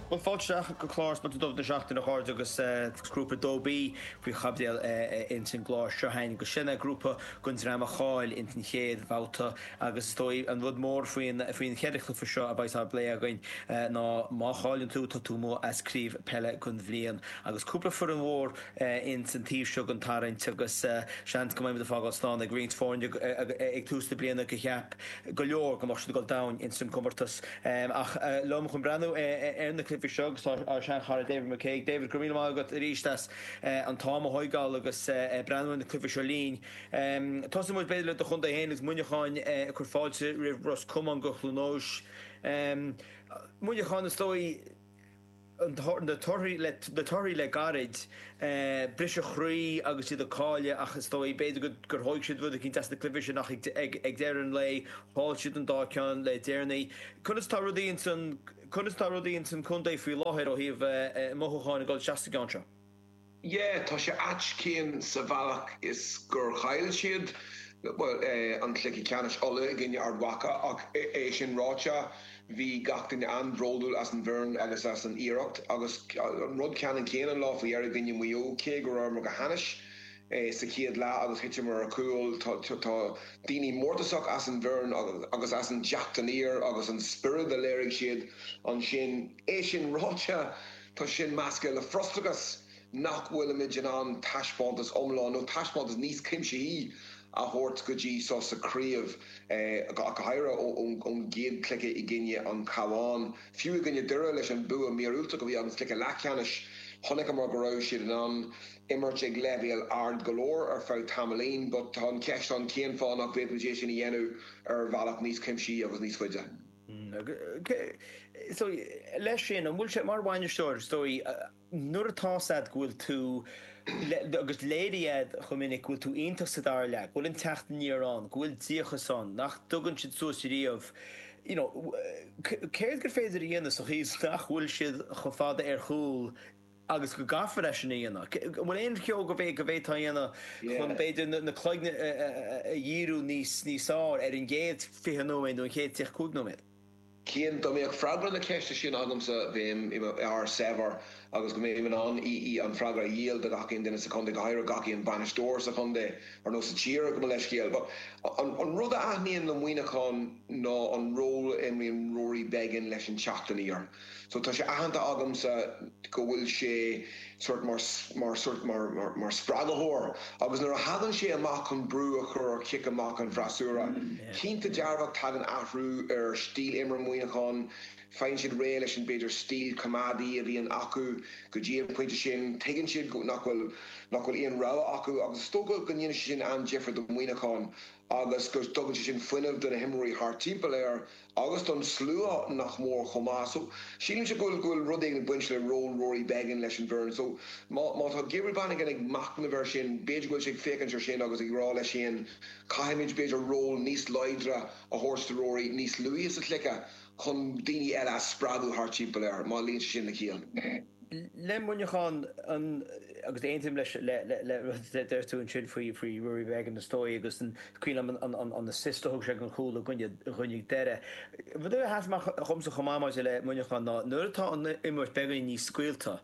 Bhuel, fáilte isteach go clár Spota Dubh na Seachtaine, a chairde, agus Grúpa 2B faoi chaibidil ins an gclár seo againn, agus sin é grúpa den dream a chaill ins an chéad bhabhta agus is dóigh an rud mór faoin faoin cheithre chluiche seo a bheas á bplé againn ná má chailleann tú, tá tú amuigh as craobh peile don bhliain agus cúpla foireann mhór ins an taobh seo den tarraingt agus seans go mbeimid ag fágáil slán ag roinnt foirne ag tús na bliana gur cheap go leor go mbeadh siad ag dul domhain ins an gcomórtas. Ach liom chun breathnú ar na cluichí seo agus tá ár sean-chara David McCague. David, go raibh míle maith agat arís as an t-am a thóigeáil agus breathnú ar na cluichí seo linn. Tosóidh muid b'fhéidir le do chontae féin agus Muineachán ag cur fáilte roimh Ros Comáin go Chluain Eois. Muineachán is dóigh, na torthaí le na torthaí le gairid, briseadh croí agus iad ag cailleadh ach is dóigh, b'fhéidir gur thóig siad rud eicínt as na cluichí sin ach ag deireadh an lae chaill siad an dá ceann le deireanaí. Conas tá rudaí ins an conas tá rudaí ins an contae faoi láthair ó thaobh mothúcháin ag dul isteach sa gceann seo? Yeah, tá sé ait Cian sa bhealach is gur chaill siad, bhuel, an cluiche ceannais Uladh i gcoinne Ard Mhacha ach é sin ráite, bhí gach duine an-bhródúil as an bhfoireann agus as an iarracht agus an rud ceannann céanna an lá faoi dheireadh i gcoinne Mhaigh Eo, cé go rabhamar go hainnis sa chéad leath agus thiteamar ar chúl, tá daoine mórtasach as an bhfoireann agus as an dteacht aniar agus an spiorad a léirigh siad ansin. É sin ráite, Tá sin measctha le frustrachas nach bhfuilimid in ann taispeántas iomlán nó taispeántas níos cuimsithí a thabhairt go dtí seo sa chraobh, ach go háirithe ón gcéad chluiche i gcoinne an Chabháin. Fiú i gcoinne Doire leis an bua míorúilteach a bhí againn sa chluiche leathcheannais, chonaiceamar go raibh siad in ann imirt ag leibhéal ard go leor ar feadh tamaillín but tá an cheist ann cén fáth nach bhféadfaimid é sin a dhéanamh ar bhealach níos cuimsithí agus níos faide. So, leis sin, an bhfuil sé, mar bhainisteoir, is dóigh, nuair atá 's a'd go bhfuil tú, agus léirigh a'd chomh minic go bhfuil tú iontach sa dara leath, go bhfuil an teacht aniar ann, go bhfuil díocas ann, nach dtugann siad suas riamh, you know, céard gur féidir a dhéanamh sa chaoi is nach bhfuil siad chomh fada ar chúl agus go gcaithfear é sin a dhéanamh. An bhfuil aon cheo go bhféadfá a dhéanamh chun, b'fhéidir, na cloigne a dhíriú níos fearr ar an gcéad 20 nóiméad nó an chéad 35 nóiméad? Cian, dá mbeadh freagra na ceiste sin agamsa, bheinn i m'fhear saibhir agus go mbeinn in ann í an freagra a dhíol do gach aon duine sa chontae, go háirithe gach aon bhainisteoir sa chontae, ar nó sa tír, gabh mo leithscéal. But an rud a aithníonn le Muineachán ná an ról a imríonn Rory Beggan leis an teacht aniar. So tá sé aitheanta agamsa go bhfuil sé sort mar mar sort mar mar spreagaitheoir agus nuair a thagann sé amach chun brú a chur ar chic amach an bhfreasúra, cinnte dearfach tagann athrú ar stíl imeartha Mhuineacháin, faigheann siad réidh leis an b'fhéidir stíl coimeádaí a bhíonn acu go dtí an pointe sin, tuigeann siad nach bhfuil nach bhfuil aon rogha acu agus is dócha go ndéanann sé sin an-difear do Mhuineachán agus go dtugann sé sin fuinneamh do na himreoirí thart timpeall air. agus don slua nach mór chomh maith. So, sílimse go bhfuil, go bhfuil rud éigin ag baint le ról Rory Beggan leis an bhfoireann. So, má, má tá Gabriel Bannigan ag machnamh air sin, b'fhéidir go bhfuil sé ag féachaint air sin agus ag rá leis féin, caithfimid b'fhéidir ról níos láidre a thabhairt do Rory níos luaithe sa chluiche chun daoine eile a spreagadh thart timpeall air, má luíonn sé sin le ciall. Le Muineachán, an, agus aontaím leis, le, le, le rud a deir tú ansin faoi, faoi Rory Beggan is dóigh agus an, cuimhin liom an, an, an assist a thug sé don chúl i gcoinne, i gcoinne Doire. Rud a sheas amach dhomsa chomh maith maidir le Muineachán ná nuair atá an imirt beagáinín níos scaoilte,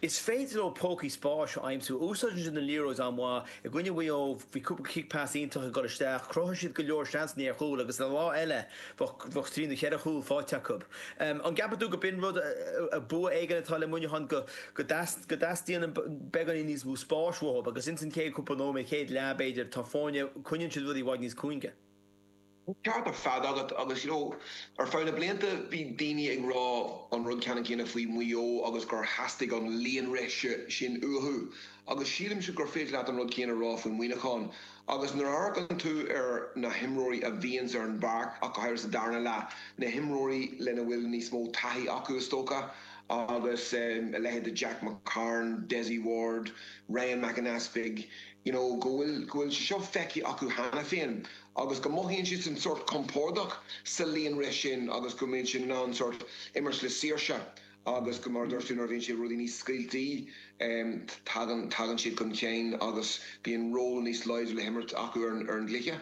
is féidir leo pócaí spáis a aimsiú. Úsáideann siad an liathróid an-mhaith. I gcoinne Mhaigh Eo, bhí cúpla cic pas iontach ag dul isteach, chruthaigh siad go leor seansanna ar chúl agus ar lá eile bheadh trí nó cheithre chúl faighte acu. An gceapann tú go b'in rud, bua éigin atá le Muineachán go dteastaíonn beagáinín níos mó spáis uathu agus ins an chéad cúpla nóiméad, chéad leath b'fhéidir, tá foirne, coinníonn siad rudaí i bhfad níos cúinge. Ceart ar fad agat agus you know ar feadh na blianta bhí daoine ag rá an rud ceannann céanna faoi Mhaigh Eo agus gur theastaigh an líonrith sin uathu agus sílimse gur féidir leat an rud céanna a rá faoi Mhuineachán agus nuair a amharcann tú ar na himreoirí a bhíonns ar an bpáirc ach go háirithe sa darna leath, na himreoirí lena bhfuil níos mó taithí acu is dócha agus a leithéid de Jack McCarron, Dessie Ward, Ryan Mac an Easpaig, you know go bhfuil go bhfuil sé seo feicthe acu cheana féin. agus go mothaíonn siadsan sórt compordach sa líonrith sin agus go mbíonn siad in ann sórt imirt le saoirse agus go, mar a dúirt tú, nuair a bhíonn siad rudaí níos scaoiltí tagann, tagann siad chun cinn agus bíonn ról níos láidre le himirt acu ar an gcluiche.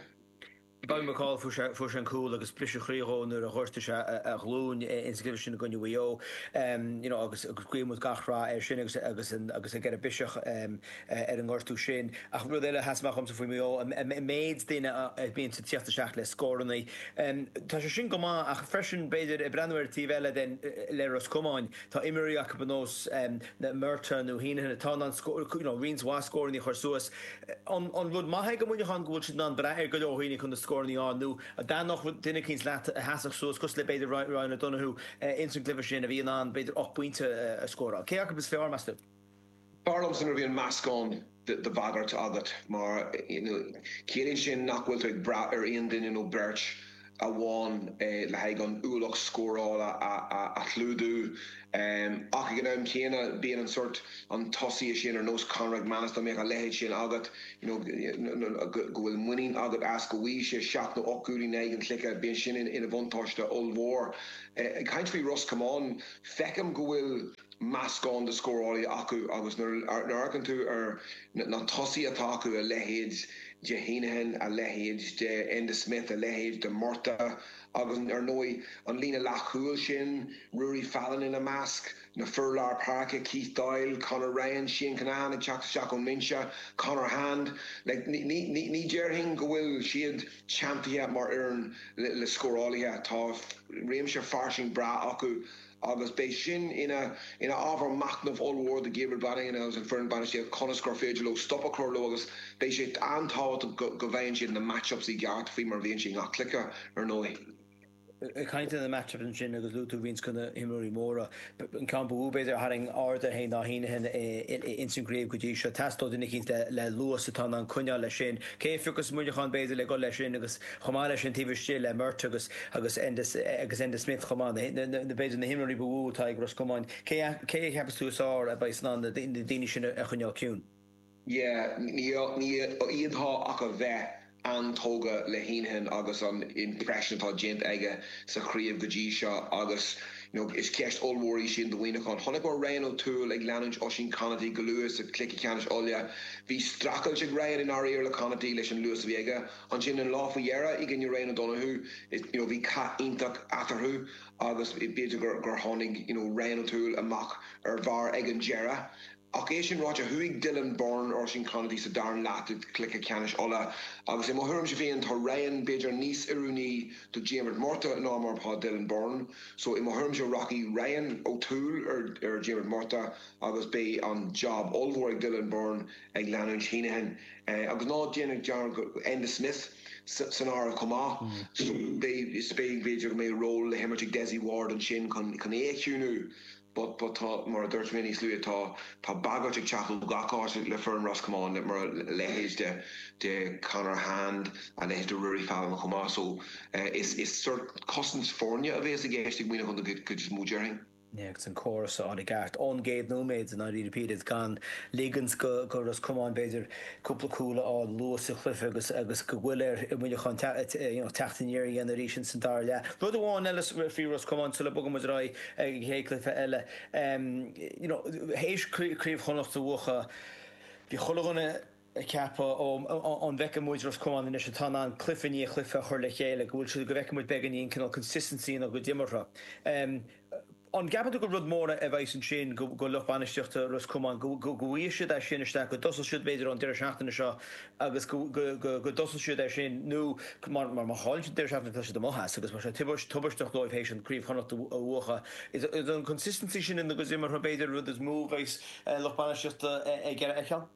Bobby McCaul, fuair sé an cúl agus briseadh croí dhó nuair a ghortaigh sé a ghlúin ins an gcluiche sin i gcoinne Mhaigh Eo. You know agus guíonn muid gach rath air sin agus agus agus ag iarraidh biseach ar an ngortú sin. Ach rud eile a sheas amach dhomsa faoi Mhaigh Eo, an méid daoine a bhíonn ag tíocht isteach le scórannaí. Tá sé sin go maith ach freisin b'fhéidir ag breathnú ar an taobh eile den le Ros Comáin, tá imreoirí acu ar nós Murtagh nó Heneghan atá in ann you know roinnt mhaith scórannaí a chur suas. An rud maith é do Mhuineachán go bhfuil siad in ann brath ar go leor daoine chun na scóranna a fháil nó dá dtaitneodh duine eicínt leat a sheasfadh suas cosúil le b'fhéidir Ryan O'Donoghue ins an gcluiche sin a bhí in ann b'fhéidir 8 bpointe a scóráil. Cé acu is fearr, meas tú? B'fhearr liomsa nuair a bhíonn meascán de bhagairt agat mar ciallaíonn sin nach bhfuil tú ag brath ar aon duine nó beirt amháin le haghaidh an ualach scórála a chlúdú. Ach ag an am céanna, bíonn an sórt, an tosaí sin ar nós Conor McManus, dá mbeadh a leithéid sin agat, you know, go bhfuil muinín agat as, go bhfaighidh sé seacht nó 8 gcúilín in aghaidh an chluiche, bíonn sin ina bhuntáiste ollmhór. Ag caint faoi Ros Comáin, feicim go bhfuil meascán de scórálaithe acu agus nuair a amharcann tú ar na tosaithe atá acu, a leithéid de Heneghan, a leithéid de Enda Smith, a leithéid de Murtagh agus ar ndóigh an líne leathchúil sin, Ruairí Fallon ina measc, na fir lár páirce, Keith Doyle, Conor Ryan, Shane Kinahan ag teacht isteach ón mbinse, Conor Hand. Like, ní déarfainn go bhfuil siad teanntaithe mar fhoireann le scórálaithe. Tá réimse fairsing breá acu. agus beidh sin ina ina ábhar machnaimh ollmhór do Gabriel Brannigan agus an foireann bainistíochta conas gur féidir leo stop a chur leo agus beidh sé an-tábhachtach go go bhfaigheann siad na match-ups i gceart faoi mar a bhíonn sé i ngach cluiche ar ndóigh. Ag caint ar na match-ups ansin agus luaigh tú roinnt de na himreoirí móra, an ceann ba mhó b'fhéidir a tharraing aird air féin ná Heneghan ins an gcraobh go dtí seo. Teastóidh duine eicínt le luas atá in ann coinneáil leis sin. Cé a phiocfas Muineachán b'fhéidir le dul leis sin agus chomh maith leis sin taobh istigh le Murtagh agus agus agus Enda Smith chomh maith, na na b'fhéidir na himreoirí ba mhó atá ag Ros Comáin. Cé cé a cheapas tú is fearr a bheas in ann na daoine sin a choinneáil ciúin? Yeah, ní ní fhéadfá ach a bheith an-tógtha le Heneghan agus an impression atá déanta aige sa chraobh go dtí seo agus you know is ceist ollmhór í sin do Mhuineachán. Chonaiceamar Ryan O'Toole ag leanúint Oisín Conaty go luath sa chluiche ceannais Uladh. Bhí streachailt ag Ryan i ndáiríre le Conaty leis an luas a bhí aige. Ansin an lá faoi dheireadh i gcoinne Ryan O'Donoghue you know bhí cath iontach eatarthu agus b'fhéidir gur gur tháinig you know Ryan O'Toole amach ar bharr ag an deireadh. Ach é sin ráite, chuaigh Dylan Byrne ar Oisín Conaty sa dara leath de chluiche ceannais Uladh agus i mo thuairimse féin tá Ryan b'fhéidir níos oiriúnaí do Diarmuid Murtagh ná mar atá Dylan Byrne. So i mo thuairimse rachaidh Ryan O'Toole ar ar Diarmuid Murtagh agus beidh an job ollmhór ag Dylan Byrne ag leanúint Heneghan. Agus ná déan dearmad Enda Smith san áireamh chomh maith. So beidh, is beidh, b'fhéidir go mbeidh ról le himirt ag Dessie Ward ansin chun chun é a chiúnú. But, but tá, mar a dúirt mé níos luaithe, tá, tá bagairt ag teacht ó gach áit le foireann Ros Comáin, mar a leithéid de, de Conor Hand, a leithéid de Ruairí Fallon chomh maith. So is, is sort cosaint foirne a bhéas i gceist ag Muineachán den chuid is mó, déarfainn. Agus an córas a fháil i gceart ón gcéad nóiméad i ndáiríre píre, gan ligint do Ros Comáin b'fhéidir cúpla cúl a fháil luath sa chluiche agus agus go bhfuil ar Mhuineachán teacht aniar a dhéanamh arís ins an dara leath. Rud amháin eile faoi Ros Comáin sula mbogann muid ar aghaidh ag an chéad chluiche eile, you know théis Craobh Chonnacht a bhuachan bhí chuile dhuine ag ceapadh ó an bhfeicfidh muid Ros Comáin anois atá in ann cluiche i ndiaidh cluiche a chur le chéile, go bhfuil siad, go bhfeicfidh muid beagáinín cineál consistency ina gcuid imeartha. An gceapann tú gur rud mór a bheas ansin do lucht bainistíochta Ros Comáin, go bhfaighidh siad é sin isteach, go dtosóidh siad b'fhéidir ón deireadh seachtaine seo agus go dtosóidh siad air sin nó mar má chailleann siad an deireadh seachtaine tá siad amuigh as agus tá sé tubaisteach dóibh théis an Craobh Chonnacht a bhuachan. Is an consistency sin ina gcuid imeartha b'fhéidir an rud is mó a bheas lucht bainistíochta ag iarraidh a fheiceáil?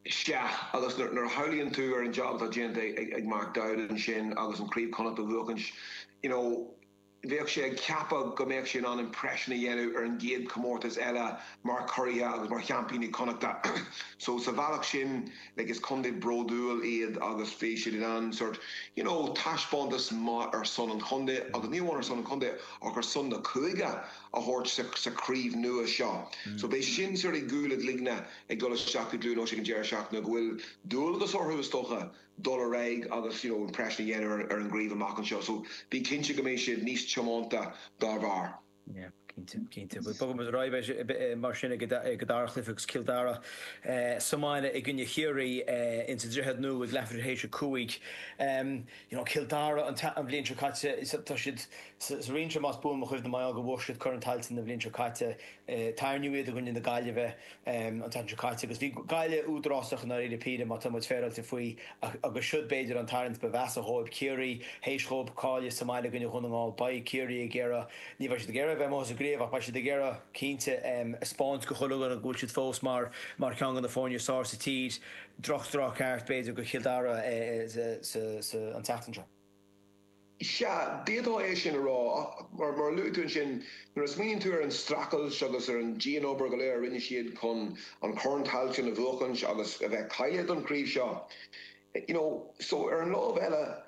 Sea, agus nuair a shamhlaíonn tú ar an job atá déanta ag Mark Dowd ansin agus an Craobh Chonnacht a bhuachaint, you know, bheadh sé ag ceapadh go mbeadh sé in ann impression a dhéanamh ar an gcéad chomórtas eile mar churaithe agus mar sheaimpíní Connachta. So sa bhealach sin, like, is contae bródúil iad agus bhí siad in ann sort, you know, taispeántas maith ar son an chontae agus ní amháin ar son an chontae ach ar son na cúige a thabhairt sa, sa chraobh nua seo. So beidh sin sort i gcúl a gcloigne ag dul isteach i gCluain Eois ag an deireadh seachtaine go bhfuil dualgas orthu is dócha dul ar aghaidh agus you know impression a dhéanamh ar an gcraobh amach anseo so bí cinnte go mbeidh siad níos tiomanta dá bharr. Yeah. Cinnte, cinnte. Bhuel, bogfaidh muid ar aghaidh mar sin ag an dara chluiche agus Cill Dara sa mbaile i gcoinne Chiarraí ins an Droichead Nua ag leathuair tar éis 5. You know, Cill Dara an bhliain seo caite, tá siad sa roinn seo más buan mo chuimhne mar gheall gur bhuaigh siad Corn Tailteann an bhliain seo caite. Tarraingíodh iad i gcoinne na Gaillimhe an tseachtain seo caite agus bhí Gaillimh údarásach i ndáiríre píre má tá muid féaráilte faoi agus siod b'fhéidir an tarraingt ba mheasa dhóibh. Ciarraí, théis dhóibh cailleadh sa mbaile i gcoinne Dhún na nGall, beidh Ciarraí ag iarraidh, ní bheidh siad ag iarraidh a bheith amuigh as an gcraobh ach beidh siad ag iarraidh cinnte a 'speáint go chuile dhuine go bhfuil siad fós mar mar cheann de na foirne is fearr sa tír. Droch-thráth ceart b'fhéidir go Chill Dara an tseachtain seo. Sea, d'fhéadfá é sin a rá, ach mar a luaigh tú ansin, nuair a smaoiníonn tú ar an streachailt agus ar an dian-obair go léir a rinne siad chun an Corn Tailteann a bhuachaint agus a bheith cáilithe don chraobh seo, you know, so ar an lámh eile,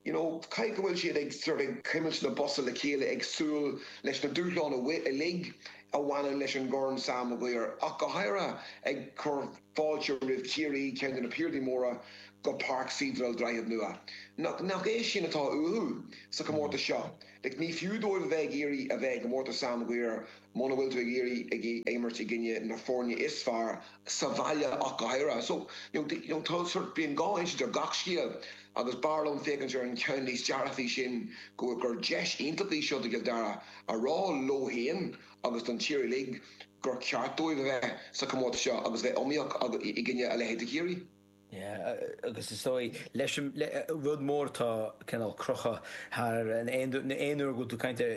you know, caithfidh go bhfuil siad ag sort ag cuimilt na bosa le chéile ag súil leis na dúshláin uilig a bhaineann leis an gCorn Sam Maguire, ach go háirithe ag cur fáilte roimh Chiarraí, ceann de na piardaí móra, go Páirc Cedral Droichead Nua. Nach nach é sin atá uathu sa chomórtas seo? Like, ní fiú dóibh a bheith ag iarraidh a bheith i gcomórtas Sam Maguire muna bhfuil tú ag iarraidh ag imirt i gcoinne na foirne is fearr sa bhaile ach go háirithe. So, you know, you know, tá sort, bíonn dhá insint ar gach scéal agus b'fhearr liom féachaint ar an cheann níos dearfaí sin go gur deis iontach í seo do Chill Dara a rá leo féin agus don tír uilig gur ceart dóibh a bheith sa chomórtas seo agus bheith iomaíoch i gcoinne a leithéid de Chiarraí. Yeah, agus is dóigh leis an rud mór atá cineál crochadh thar aon aon uair go bhfuil tú ag caint ar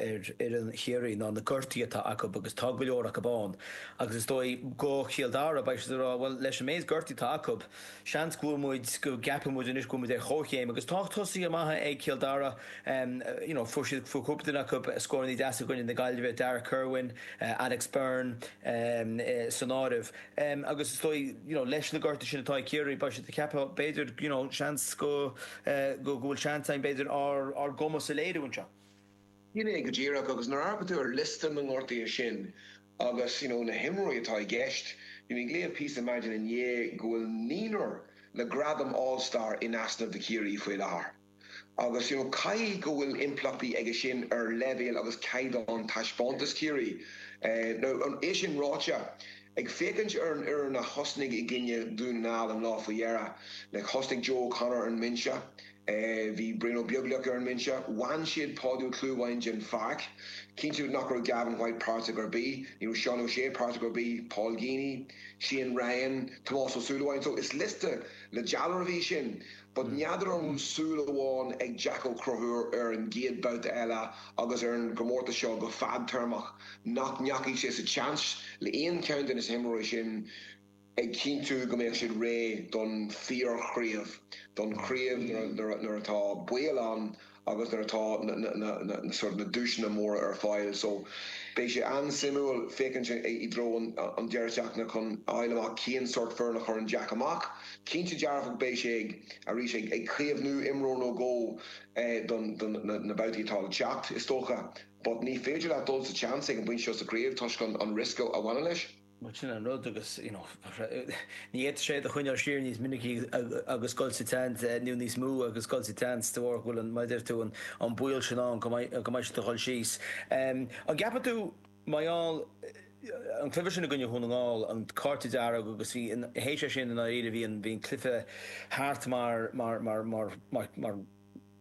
ar fhoireann Chiarraí ná na gortuithe atá acu agus tá go leor acu ann agus is dóigh go Chill Dara beidh siad ag rá bhuel leis an méid gortuithe atá acu seans go bhfuil muid go gceapann muid anois go bhfuil muid ar chomhchéim agus tá tosaithe maithe ag Cill Dara you know fuair siad fuair cúpla duine acu scóranna deasa i gcoinne na Gaillimhe Darragh Kirwan, Alex Byrne san áireamh. Agus is dóigh, you know, leis na gortuithe sin atá ag Ciarraí, beidh siad ag ceapadh, b'fhéidir, you know, seans go, go bhfuil seans againn, b'fhéidir, ár, ár gcumas a léiriú anseo. Sin é go díreach, agus nuair a amharcann tú ar liosta na ngortuithe sin agus, you know, na himreoirí atá i gceist, bhí mé ag léamh píosa maidin inné go bhfuil naonúr le gradam All Star in easnamh do Chiarraí faoi láthair. Agus you know caithfidh go bhfuil impleachtaí aige sin ar leibhéal agus caighdeán taispeántas Chiarraí. Now, é sin ráite, ag féachaint ar an fhoireann a thosnaigh i gcoinne Dhún na nGall an lá faoi dheireadh, like thosnaigh Joe O'Connor ar an mbinse, bhí Brian Ó Beaglaoich ar an mbinse, bhain siad Páidí Ó Clúmháin den pháirc, cinnte nach raibh Gavin White páirteach ar bith, ní raibh Seán O'Shea páirteach ar bith, Paul Geaney, Shane Ryan, Tomás Ó Súilleabháin, so is liosta le dealramh é sin. But n'fheadar an bhfuil súil amháin ag Jack Ó Conchúir ar an gcéad babhta eile agus ar an gcomórtas seo go fadtéarmach, nach ndeachaigh sé sa tseans le aon cheann de na himreoirí sin ag cinntiú go mbeadh siad réidh don fíor-chraobh, don chraobh nuair atá baol ann agus nuair atá na sort na duaiseanna móra ar fáil. So beidh sé an-suimiúil féachaint i dtreo an deireadh seachtaine chun a fháil amach cén sort foireann a chuireann Jack amach. Cinnte dearfach beidh sé ag arís ag ag caomhnú imreoir nó dhó don don na babhtaí atá le teacht is dócha. But ní féidir leat dul sa tseans ag an bpointe seo sa chraobh toisc an an riosca a bhaineann leis. Bhuel, sin an rud agus, you know, ní fhéadfadh sé iad a choinneáil siar níos minicí agus dul sa tseans, nó níos mó agus dul sa tseans de bharr go bhfuil an, mar a deir tú, an baol sin ann go mbeidh, go mbeidh siad ag dul síos. An gceapann tú, mar gheall, an cluiche sin i gcoinne Dhún na nGall, an cárta dearg agus bhí, théis é sin i ndáiríre bhí an, bhí an cluiche thart mar, mar, mar, mar, mar, mar,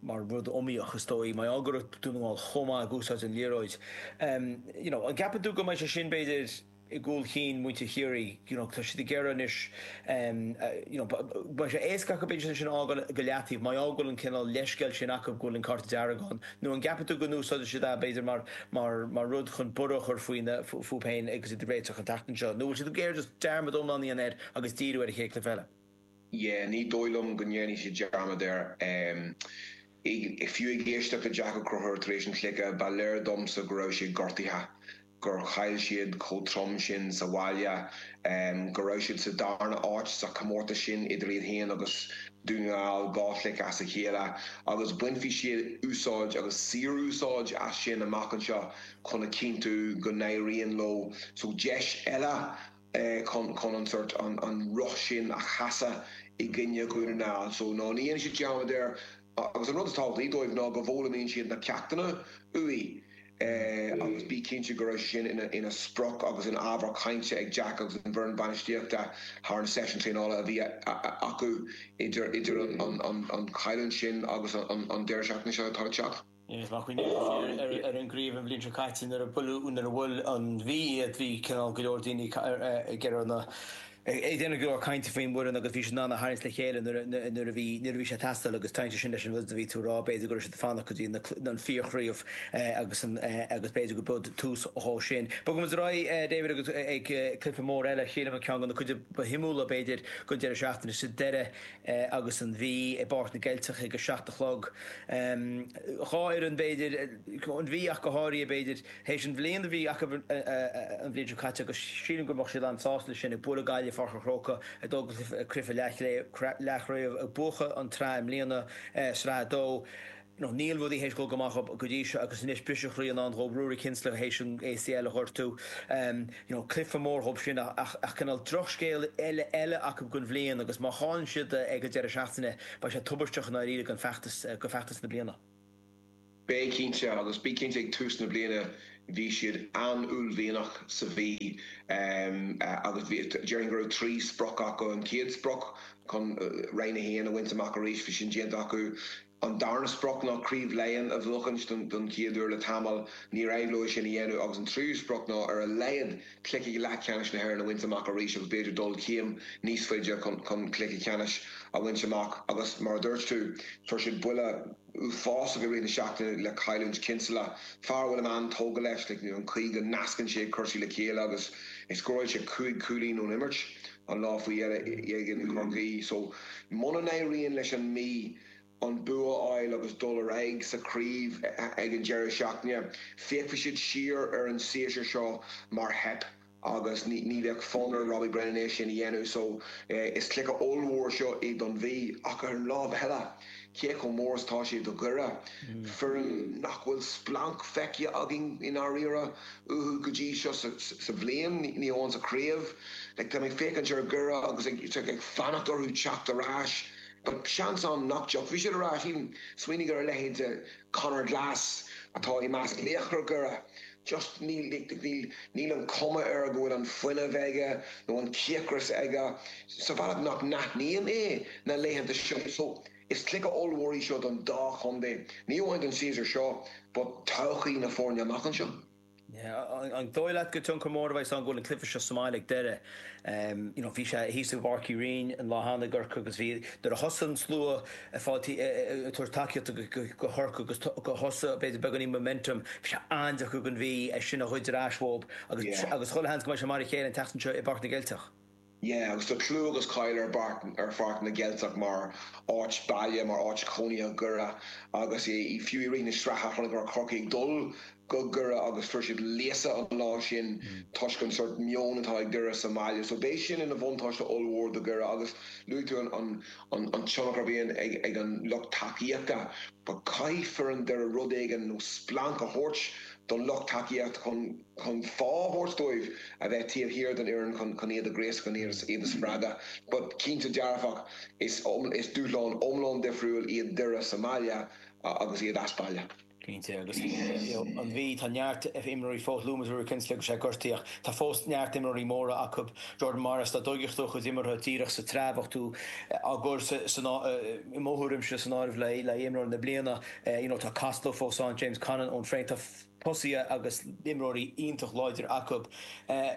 mar rud iomaíoch, is dóigh, mar gheall go raibh Dún na nGall chomh maith ag úsáid an liathróid. You know, an gceapann tú go mbeidh sé sin, b'fhéidir, i gcúl chinn muintir Chiarraí, you know, tá siad ag iarraidh anois, you know, beidh sé éasca acu b'fhéidir sin a fhágáil go leataobh, mar gheall go bhfuil an cineál leithscéal sin acu go bhfuil an cárta dearg ann, nó an gceapann tú go n-úsáidfidh siad é, b'fhéidir, mar, mar, mar rud chun borradh a chur faoina, fúthu féin agus iad ag réiteach an tseachtain seo, nó bhfuil siad ag iarraidh just dearmad iomlán a dhéanamh air agus díriú ar an chéad chluiche eile? Yeah, ní dóigh liom go ndéanfaidh siad dearmad air. Fiú ag éisteacht le Jack Ó Conchúir tar éis an chluiche, ba léir domsa go raibh sé gortaithe, gur chaill siad chomh trom sin sa bhaile, go raibh siad sa darna áit sa chomórtas sin idir iad féin agus Dún na nGall, dhá chluiche as a chéile, agus bainfidh siad úsáid agus saor-úsáid as sin amach anseo chun a chinntiú go n-éiríonn leo. So deis eile chun an sort an roth sin a chasadh i gcoinne Dhún na nGall. So no, ní dhéanfaidh siad dearmad air agus an rud is tábhachtaí dóibh ná go bhfoghlaimíonn siad na ceachtanna uaidh agus bí. cinnte go raibh sé sin ina sprioc agus ina ábhar cainte ag Jack agus an bhfoireann bainistíochta thar na seisiúin traenála a bhí acu idir an chailliúint sin agus an deireadh seachtaine seo atá ag teacht. Is má chuimhníonn tú siar ar an gcraobh an bhliain seo caite nuair a buaileadh, nuair a bhuail an Mhí iad, bhí cineál go leor daoine ag iarraidh na, ag déanamh go leor cainte faoin bhfoireann agus bhí siad in ann a tharraingt le chéile nuair a bhí, nuair a bhí sé ag teastáil agus tagann sé sin leis an rud a bhí tú a rá, b'fhéidir go raibh siad ag fanacht go dtí an fíorchraobh agus an, agus b'fhéidir go b'iod tús dhó sin. Bogfaidh muid ar aghaidh David agus ag cluiche mór eile, sílim an ceann de na cuid ba shuimiúla b'fhéidir den deireadh seachtaine sa deireadh agus an Mhí i bPáirc na gCeilteach ag a 7 a chlog. Dhá fhoireann b'fhéidir, an Mhí ach go háirithe b'fhéidir, théis an bhliain a bhí acu an bhliain seo caite agus sílim go mbeadh siad an-sásta leis sin, ag bualadh Gaillimh i Pháirc an Chrócaigh, ag dul go cluiche leathchraobh, ag buachan an tsraith i mbliana, Sraith 2. Nó níl rudaí théis dul go maith dhób go dtí seo agus anois briseadh chroí i ndán dhób, Ruairí Kinsella théis an ACL a ghortú. You know, cluiche mór dhób sin ach ach cineál drochscéal eile eile acu don bhliain agus má chailleann siad ag an deireadh seachtaine beidh sé tubaisteach i ndáiríre don feachtas, do feachtas na bliana. Beidh cinnte agus bí cinnte ag tús na bliana bhí siad an-uaillmhianach sa Mhí agus bhí, déarfainn go raibh 3 sprioc acu. An chéad sprioc chun Roinn 1 a bhaint amach arís, bhí sin déanta acu. An darna sprioc ná Craobh Laighean a bhuachaint don chéad uair le tamall. Níor éirigh leo é sin a dhéanamh agus an tríú sprioc ná ar a laghad cluiche leathcheannais na hÉireann a bhaint amach arís agus b'fhéidir dul céim níos faide chun cluiche ceannais a bhaint amach agus mar a dúirt tú, fuair siad buille uafásach i rith na seachtaine le cailliúint Kinsella, fear a bhfuilim an-tógtha leis, like an chaoi go nascann sé cúrsaí le chéile agus scóráil sé 5 chúilín ón imirt an lá faoi dheireadh in aghaidh Chorcaí. So muna n-éiríonn leis an Mí an bua a fháil agus dul ar aghaidh sa chraobh ag an deireadh seachtaine, féachfaidh siad siar ar an séasúr seo mar theip agus ní bheadh fonn ar Robbie Brennan é sin a dhéanamh. So, is cluiche ollmhór seo é don Mhí ach ar an lámh eile, cé chomh mór is atá sé do Dhoire, foireann nach bhfuil splanc feicthe againn i ndáiríre uathu go dtí seo sa bhliain, ní amháin sa chraobh. Like, tá mé ag féachaint ar Dhoire agus ag fanacht orthu teacht ar ais. But seans ann nach dtiocfaidh siad ar ais. Even smaoinigh ar a leithéid de Conor Glass atá i measc laochra Dhoire. Just níl, níl, níl an cuma air go bhfuil an fuinneamh aige nó an cíocras aige sa bhealach nach n-aithním é na laethanta seo. So is cluiche ollmhór í seo don dá chontae. Ní amháin don séasúr seo but todhchaí na foirne amach anseo. An dóigh leat gur tionchar mór a bheidh ann go bhfuil an cluiche seo sa mbaile ag Doire? You know, bhí sé thíos i bPáirc Uí Rinn an lá cheana i gCorcaigh agus bhí, nuair a thosaigh an slua ag fáil, ag tabhairt tacaíochta go Chorcaigh agus go thosaigh b'fhéidir beagáinín momentum, bhí sé an-deacair don Mhí é sin a ghoid ar ais uathu agus agus chuile sheans go mbeidh sé mar a chéile an tseachtain seo i bPáirc na gCeilteach. Yeah, agus tá clú agus cáil ar ar Pháirc na gCeilteach mar áit baile, mar áit chónaithe Dhoire agus fiú i rith na sraithe chonaiceamar Corcaigh ag dul go Doire agus fuair siad léasadh an lá sin toisc an sórt meon atá ag Doire sa mbaile. So beidh sin ina bhuntáiste ollmhór do Dhoire agus luaigh tú an an tionchar a bhíonn ag an lucht tacaíochta but caithfidh foireann Doire rud éigin nó splanc a thabhairt don lucht tacaíochta chun chun fáth a thabhairt dóibh a bheith taobh thiar den fhoireann chun chun iad a ghríosadh, chun iad a spreagadh. But cinnte dearfach, is is dúshlán iomlán difriúil iad Doire sa mbaile agus iad as baile. Cinnte, agus you know an Mhí, tá neart imreoirí fós, luaigh muid Ruairí Kinsella agus é gortaithe ach tá fós neart imreoirí móra acu, Jordan Morris, dá dtóigfeadh tú a chuid imeartha díreach sa tsraith bheadh tú á gcur san, i mo thuairimse, san áireamh le le imreoir na bliana, you know tá Costello fós ann, James Conlon, Eoin Frayne, tá tosaithe agus imreoirí iontach láidir acu.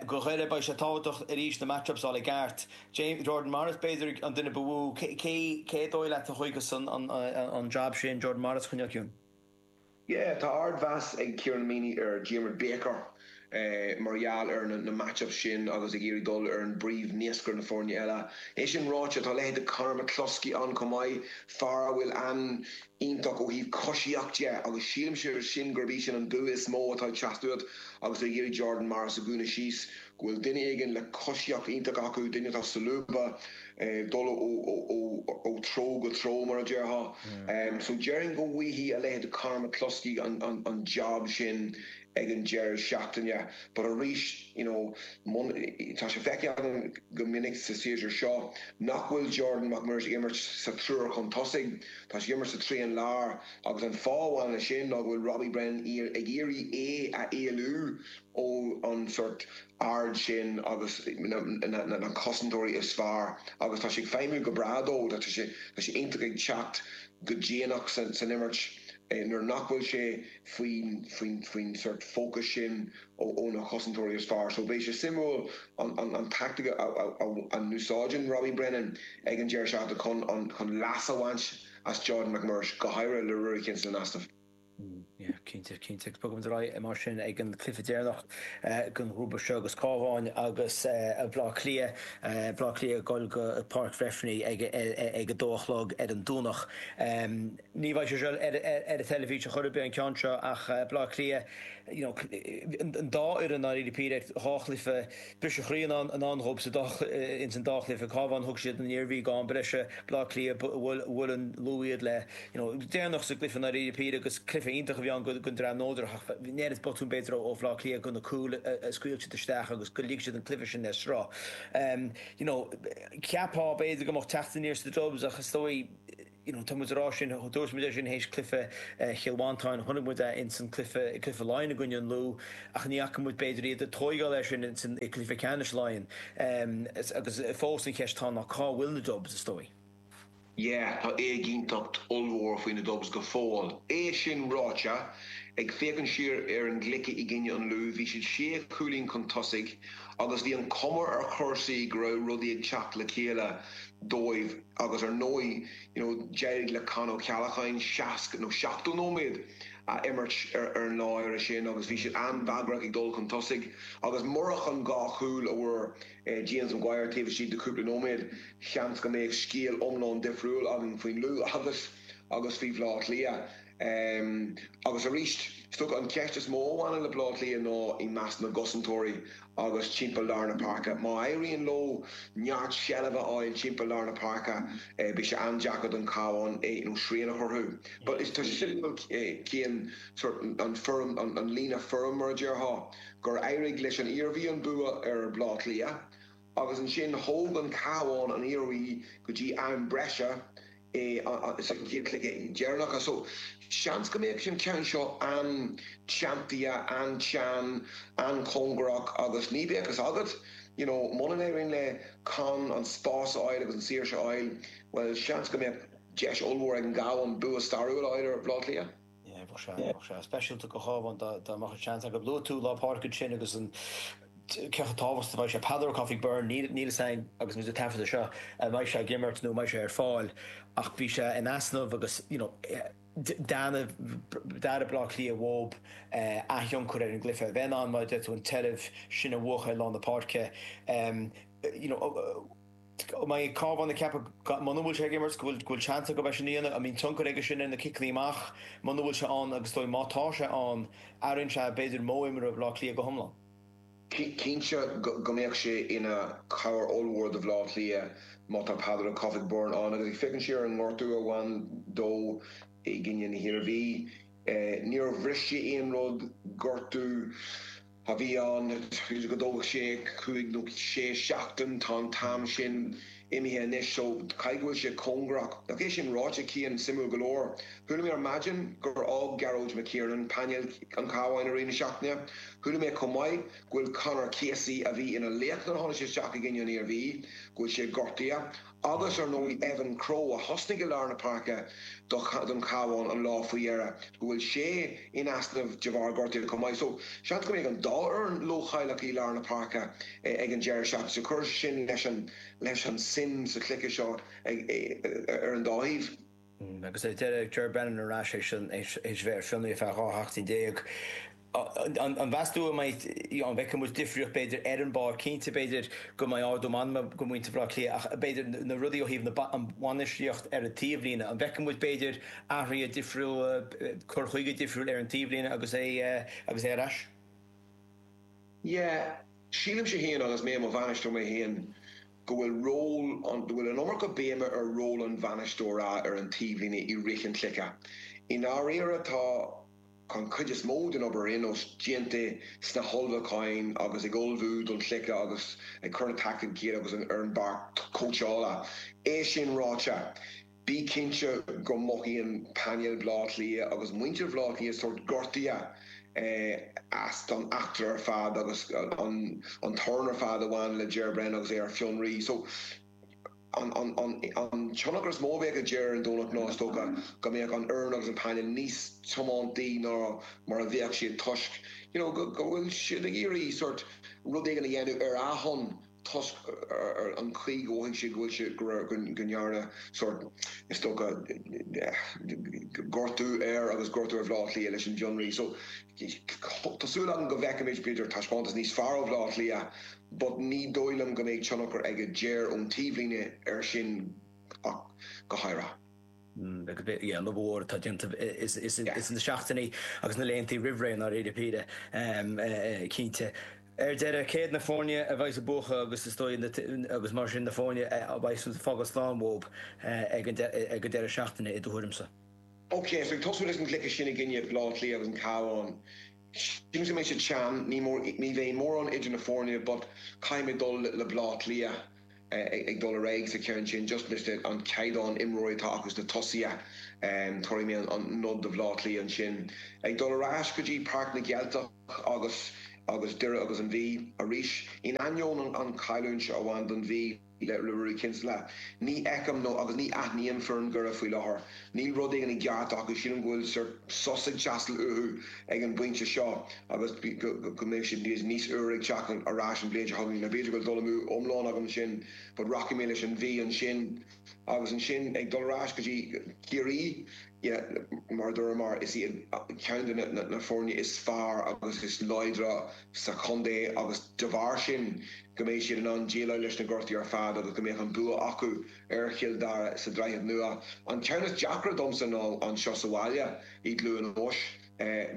Do Dhoire, beidh sé tábhachtach arís na match-ups a fháil i gceart. James, Jordan Morris b'fhéidir an duine ba mhó. Cé, cé dóigh leat a thóigfeas an job sin, Jordan Morris a choinneáil ciúin? Yeah, tá ardmheas ag Kieran Meaney ar Diarmuid Baker mar gheall ar na match-ups sin agus ag iarraidh dul ar an bpríomh-naoscaire na foirne eile. É sin ráite, tá leithéid de Conor McCluskey ann chomh maith, fear a bhfuil an iontach ó thaobh coisíocht de agus sílimse sin gurb í sin an bua is mó atá ag teacht uait agus tú ag iarraidh Jordan Morris a dhúnadh síos, go bhfuil duine éigin le coisíocht iontach acu, duine atá solúbtha, dul ó treo go treo mar a déarfá. So déarfainn go bhfaighidh a leithéid de Conor McCluskey an job sin. ag an deireadh seachtaine but arís you know tá sé feicthe agam go minic sa séasúr seo nach bhfuil Jordan Mac Muiris ag imirt sa triúr chun tosaigh, tá sé ag imirt sa trian lár agus an fáth a bhaineann leis sin ná go bhfuil Robbie Brennan ag iarraidh é a éalú ó an sort aird sin agus na cosantóirí is fearr agus tá sé ag feidhmiú go breá dó, tá sé iontach ag teacht go déanach san imirt nuair nach bhfuil sé faoin sort fócas sin ó na cosantóirí is fearr. So beidh sé suimiúil an tactic a n-úsáideann Robbie Brennan ag an deireadh seachtaine chun leas a bhaint as Jordan McMurrish, go háirithe le Ruairí Kinsella in easnamh. Yeah, cinnte, cinnte. Agus bogfaimid ar aghaidh mar sin ag an cluiche deireanach den ghrúpa seo agus Cabhán agus Bleá Cliath, Bleá Cliath ag dul go Páirc Bhreifne ag ag a dó a chlog ar an Domhnach. Ní bheidh sé seo ar an teilifís ar chor ar bith an ceann seo ach Bleá Cliath, you know, an dá fhoireann dáiríre píre, dhá chluiche, briseadh croí i ndán dhóibh sa dá, ins an dá chluiche. Cabhán, thug siad an Iarmhí go am breise, Bleá Cliath, bhuail an Lú iad le, you know, deireanach sa gcluiche dáiríre píre agus cluiche iontach a bhí ann don dream neodrach ach bhí an oiread botún b'fhéidir ó Bhleá Cliath go na cúil a scaoil siad isteach agus go lig siad an cluiche sin le sruth. You know, cheapfá b'fhéidir go mbeadh teacht aniar sna Dubs ach is dóigh, you know, tá muid ag rá sin, dúirt muid é sin théis cluiche Chill Mhantáin, chonaic muid é ins an cluiche, cluiche Laighean i gcoinne an Lú ach ní fhaca muid b'fhéidir iad ag tóigeáil air sin ins an cluiche ceannais Laighean. Agus fós an cheist atá ná cá bhfuil na Dubs is dóigh? Yeah, tá éiginnteacht ollmhór faoi na Dubs go fóill. É sin ráite, ag féachaint siar ar an gcluiche i gcoinne an Lú, bhí siad sé chúilín chun tosaigh agus bhí an chuma ar chúrsaí go raibh rudaí ag teacht le chéile dóibh agus ar ndóigh, you know, d'éirigh le Con Ó Ceallacháin 60 nó 70 nóiméad a imirt ar an lá áirithe sin agus bhí siad an-bhagrach ag dul chun tosaigh agus murach an dhá chúl a fuair James Maguire taobh istigh de chúpla nóiméad, seans go mbeadh scéal iomlán difriúil againn faoin Lú agus agus faoi Bhleá Cliath. Agus arís, is dócha an cheist is mó a bhaineann le Bleá Cliath ná i measc na gcosantóirí agus timpeall lár na páirce. Má éiríonn leo neart seilbhe a fháil timpeall lár na páirce, beidh sé an-deacair don Chabhán nó srian a chur orthu. But tá sé suimiúil cén sort an foirm, an líne foirm mar a déarfá. gur éirigh leis an Iarmhí an bua ar Bhleá Cliath agus ansin thóg an Cabhán an Iarmhí go dtí am breise sa chéad chluiche deireanach. So seans go mbeadh an ceann seo an-teanntaithe, an-teann, an-chóngarach agus ní bheadh fhios agat, you know, muna n-éiríonn le Con an spás a fháil agus an saoirse a fháil, bhuel seans go mbeadh deis ollmhór ag an gCabhán bua stairiúil a fháil ar Bhleá Cliath. Yeah, bheadh sé, bheadh sé speisialta do Chabhán dá mbeadh an seans acu. Luaigh tú lár páirce ansin agus an cé chomh tábhachtach a bheidh sé. Peadar Ó Cofaigh Byrne, níl níl fhios againn agus muid ag taifeadadh seo an mbeidh sé ag imirt nó an mbeidh sé ar fáil ach bhí sé in easnamh agus you know d'airigh Baile Átha Cliath uathu a thionchar ar an gcluiche. A bheith in ann, mar a deir tú, an tseilbh sin a bhuachan ar lár na páirce. You know, An mbeidh Cabhán ag ceapadh muna bhfuil sé ag imirt go bhfuil go bhfuil seans acu é sin a dhéanamh? An mbíonn tionchar aige sin ar na ciceanna amach muna bhfuil sé ann agus is dóigh má tá sé ann athraíonn sé b'fhéidir modh imeartha Bhaile Átha Cliath go hiomlán? Cinnte go mbeadh sé ina chabhair ollmhór do Bhaile Átha Cliath má tá Peadar Ó Cofaigh Byrne ann agus ag féachaint siar ar an ngortú a bhain dó i gcoinne na hIarmhí níor bhris sé aon rud, gortú a bhí ann, b'fhéidir go dtógfadh sé cúig nó sé seachtain, tá an t-am sin imithe anois so caithfidh go bhfuil sé cóngarach. Ach é sin ráite, Cian, suimiúil go leor, chuala mé ar maidin gur fhág Gearóid McKiernan painéal an Chabháin i rith na seachtaine. Chuala mé chomh maith go bhfuil Conor Casey, a bhí ina laoch nuair a tháinig sé isteach i gcoinne an Iarmhí, go bhfuil sé gortaithe. Agus ar ndóigh Evan Crowe, a thosnaigh i lár na páirce don Chabhán an lá faoi dheireadh, go bhfuil sé in easnamh de bharr gortaithe chomh maith. So, seans go mbeidh an dá fhoireann leochaileach i lár na páirce ag an deireadh seachtaine. So cuirfidh sé sin leis an leis an suim sa chluiche seo ar an dá thaobh. Agus ar deireadh, Ger Brennan ar ais théis a bheith ar fionraí ar feadh 12 sheachtain. An meas tú an mbeidh, an bhfeicfidh muid difríocht b'fhéidir ar an bpáirc? Cinnte b'fhéidir go mbeidh ardú meanma go muintir Bhaile Átha Cliath ach b'fhéidir na rudaí ó thaobh na an bhainistíocht ar an taobhlíne, an bhfeicfidh muid b'fhéidir athruithe difriúla, cur chuige difriúil ar an taobhlíne agus é agus é ar ais? Yeah, sílimse féin agus mé i mo bhainisteoir mé féin go bhfuil ról an, go bhfuil an iomarca béime ar ról an bhainisteora ar an taobhlíne i rith an chluiche. I ndáiríre tá. An chuid is mó den obair ar aon nós déanta sna hullmhúcháin agus ag ullmhú don chluiche agus ag cur na taicticí le chéile agus ar an bpáirc cóitseála. É sin ráite, bí cinnte go mothaíonn painéal Bhaile Átha Cliath agus muintir Bhaile Átha Cliath sórt gortaithe as an eachtra ar fad agus an torann ar fad a bhain le Ger Brennan agus é ar fionraí. So, An tionchar is mó a bheadh ag Ger ar an Domhnach ná, is dócha, go mbeadh an fhoireann agus an painéal níos tiomanta ná mar a bheadh siad toisc you know go bhfuil siad ag iarraidh sórt rud éigin a dhéanamh ar a shon toisc an chaoi go mhothaigh siad go bhfuil siad go raibh go ndearna sórt is dócha gortú air agus gortú ar Bhaile Átha Cliath leis an bhfionraí. So tá súil agam go bhfeicfimid b'fhéidir taispeántas níos fearr ó Bhaile Átha Cliath but ní dóigh liom go mbeidh tionchar ag Ger ón taobhlíne air sin ach go háirithe. Yeah, an obair mhór atá déanta is na seachtainí agus na laethanta roimh ré i ndáiríre píre, cinnte. Ar deireadh, céard na foirne a bheidh ag buachan agus is dóigh agus mar sin na foirne a bheidh ag fágáil slán uathu ag an deireadh seachtaine i do thuairimse? Ok, so ag tosú leis an gcluiche sin i gcoinne Bhaile Átha Cliath agus an Cabhán, Sílim go mbeidh sé teann, ní mór, ní bheidh mórán idir na foirne but caithfidh mé dul le Baile Átha Cliath ag dul ar aghaidh sa cheann sin just leis an caighdeán imreoirí atá acu sna tosaithe. Tabharfaidh mé an nod do Bhaile Átha Cliath ansin. Ag dul ar ais go dtí Páirc na gCeilteach agus agus Doire agus an Mhí arís. In ainneoin an chailliúint a bhain don Mhí, le Ruairí Kinsella. Ní fheicim nó agus ní aithním foireann Dhoire faoi láthair. Níl rud éigin i gceart acu. Sílim go bhfuil sórt sos ag teastáil uathu ag an bpointe seo agus go mbeidh siad níos úire ag teacht ar ais an bhliain seo chugainn. Now b'fhéidir go bhfuil dul amú iomlán agam ansin but rachaidh mé leis an Mhí ansin. Agus ansin ag dul ar ais go dtí Ciarraí, yeah, mar a dúramar, is iad ceann de na foirne is fearr agus is láidre sa chontae agus de bharr sin go mbeidh siad in ann déileáil leis na gortuithe ar fad agus go mbeadh an bua acu ar Chill Dara sa Droichead Nua. An ceann is deacra domsa ná anseo sa bhaile i gCluain Eois.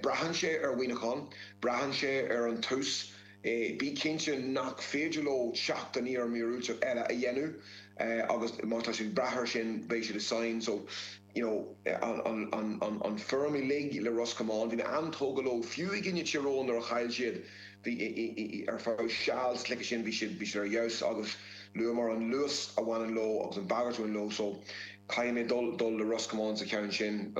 Braitheann sé ar Mhuineachán, braitheann sé ar an tús. Bí cinnte nach féidir leo teacht aniar míorúilteach eile a dhéanamh agus má tá siad ag brath air sin beidh siad i sáinn. So, you know, an foirm uilig le Ros Comáin, bhí mé an-tógtha leo fiú i gcoinne Tír Eoghain nuair a chaill siad, bhí ar feadh seal sa chluiche sin bhí siad bhí siad ar fheabhas agus luamar an luas a bhaineann leo agus an bhagairt a bhaineann leo so caithfidh mé dul dul le Ros Comáin sa cheann sin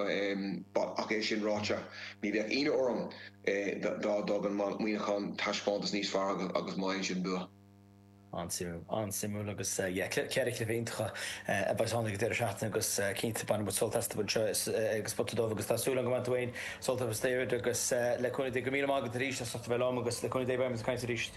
but ach é sin ráite ní bheadh ionadh orm dá dtugann Muineachán taispeántas níos fearr agus má fhaigheann siad an bua. An-suimiúil, an-suimiúil agus yeah, ceithre chluiche iontacha a bheas ann ag an deireadh seachtaine agus cinnte bainfidh muid sult astu anseo ag Spota Dubh agus tá súil agam go mbainfidh tú féin sult as a David agus le cúnamh Dé go raibh míle maith agat arís as ucht a bheith liom agus le cúnamh Dé beidh muid ag caint arís.